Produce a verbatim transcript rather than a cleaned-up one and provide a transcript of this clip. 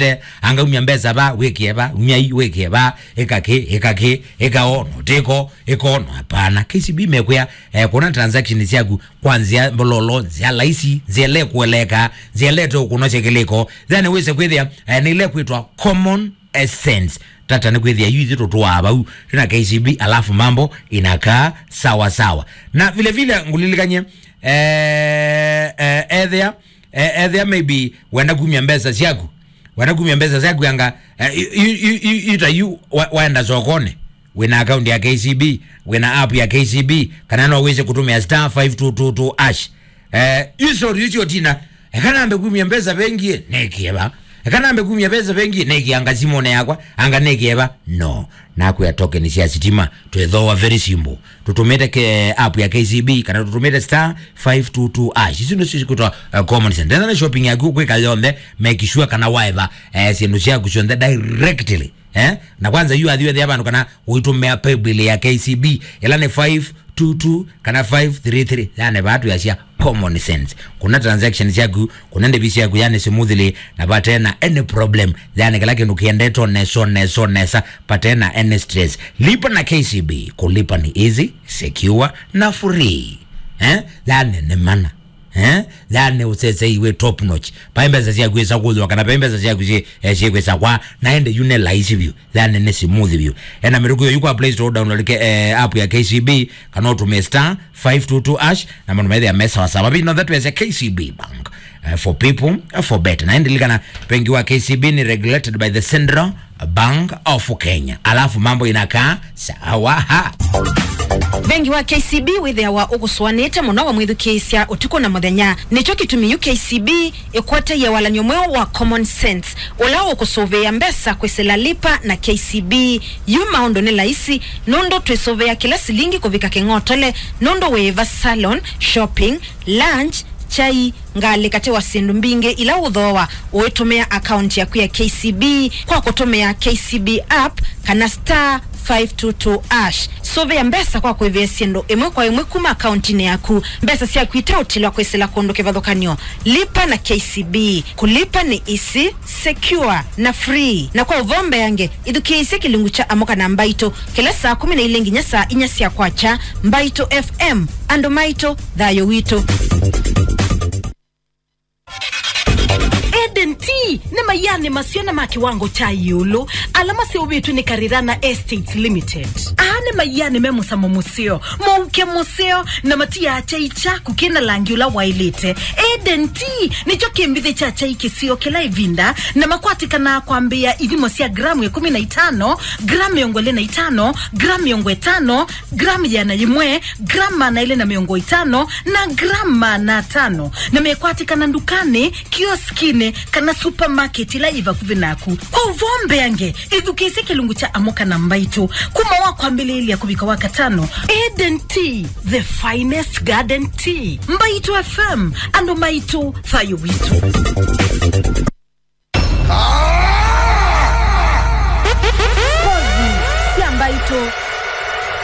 Te, anga umya mbesa va, wĩkĩe va, umya ii, wĩkĩe va, ĩka kĩ, ĩka kĩ, ĩka o, no tĩko, ĩka o, no hapana. K C B mekwĩa, eh, kũna transaction syaku kwa nzĩa mbololo, nzĩa laisi, nzĩa ĩla ĩkũeleeka, nzĩa ĩla ĩteũkũnosya kĩlĩko. Then wĩse kwĩthĩa, eh, nĩ ĩla ĩkwĩtwa common sense. Tata nĩ kwĩthĩa yu ithyĩ tũtũaa vau, twĩ na K C B, alafu mambo inakaa sawa sawa. Na vile vile ngũlilikany'e, eh, eh, ethĩa, eh, ethĩa maybe wenda kumya mbesa syaku, wenda kumya mbesa syaku anga, eh, yu, yu, yu, yu, yu ta yu wa-, waenda sokonĩ, wĩna account ya K C B, wĩna app ya K C B, kana no wĩse kũtũmĩa star five two two two hash. Eh, yu sorry, yu sio tina. Eka nambe kumya mbesa bengi, nekie va. Eka nambe kumya mbesa bengi, nekie anga simone yakwa, anga nekie va. No. Nakwĩa token sya sitima, twĩthooa very simple. Tũtũmĩte ke-, app ya K C B, kana tũtũmĩte star five two two hash. Isu nĩsyo cikwĩtwa, uh, common sense. Ndethana shopping yaku kwĩka yonthe, make sure kana waeva, eh, syĩndũ syaku syonthe directly. Eh? Na kwanza yu athiwe thia vandu kana uitumia paybill ya K C B, ila ni five two two kana five three three, yani vatu yasia common sense. Kuna transactions yaku, kuna ndevi syaku, yani smoothly, na patena any problem, yani kila kindu kiendete nesa, nesa, nesa, patena any stress. Lipa na K C B, kulipa ni easy, secure, na free. Eh? Yani ni mana. Eh? Yani ũsesei wĩ top notch. Vai mbesa syaku ĩsa kũthwa, kana vai mbesa syaku syĩ, eh, syĩkwĩsa kwa, na ende yu nĩ laisi vyũ. Yani nĩ smooth vyũ. Ena mĩtũkĩ yu kwa Play Store, download ke, eh, app ya K C B, kana ũtũmĩe star five two two hash, na maũndũ methĩa me sawa sawa. We know that we as a K C B bank, eh, for people, eh, for better. Na ende likana, bengi wa K C B ni regulated by the Central Bank of Kenya. Alafu mambo inakaa sawa ha. Bengi wa K C B wĩthĩawa ũkũsũanĩte mũno wamwĩthukĩĩsya ũtukũ na mũthenya. Nĩkyo kĩtumi yu K C B ĩkwatie walany'o mweũ wa common sense, ũla ũkũsũvĩĩa mbesa kwĩsĩla Lipa na K C B. Yu maũndũ nĩ laisi, nũndũ twĩsũvĩa kĩla silingi kũvika kĩng'otole, nũndũ wĩĩva salon, shopping, lunch, chai, ngalĩ katĩ wa syĩndũ mbingĩ ila ũthooa ũitũmĩa akaunti yaku ya K C B kwa kũtũmĩa K C B app kana star five two two hash. Sũvĩa mbesa kwa kũĩvĩa syĩndũ ĩmwe kwa ĩmwe kuma akauntinĩ yaku. Mbesa syaku iteũtilwa kwĩsĩla kũndũ kĩvathũkany'o. Lipa na K C B. Kũlipa nĩ easy, secure, na free. Na kwa ũvoo mbeange, ĩthukĩĩsye kĩlungu kya Amũka na Mbaitũ kĩla saa kũmi na ilĩ nginya saa inya sya kwakya. Mbaitũ F M, andũ maitũ, thayũ witũ. Eden Tea nĩ maianĩ maseo na ma kĩwango kya ĩũlũ ala maseũvĩtw'e nĩ Karirana Estates Limited. Aa nĩ maianĩ me mũsamo mũseo, mũuke mũseo, na matiaa kyai kyaku kĩ na langi ũla waĩlĩte. Eden Tea nĩkyo kĩmbithĩ kya kyai kĩseo kĩla ĩvinda, na makwatĩkanaa kwambĩĩa ithimo sya gramu ĩkũmi na itano, gramu mĩongo ĩlĩ na itano, gramu mĩongo ĩtano, gramu ĩana yĩmwe, gramu maana elĩ na mĩongo ĩtano, na gramu maana atano, na mekwatĩkana ndukanĩ, kioskinĩ, kana supermarket ĩla yĩ vakuvĩ naku. Kwa ũvoo mbeange, ĩthukĩĩsye kĩlungu kya Amũka na Mbaitũ kuma wa kwambĩlĩĩlya kũvika wa katano. Eden Tea, the finest garden tea. Mbaitũ F M, andũ maitũ, thayũ witũ. Kozi sya Mbaitũ.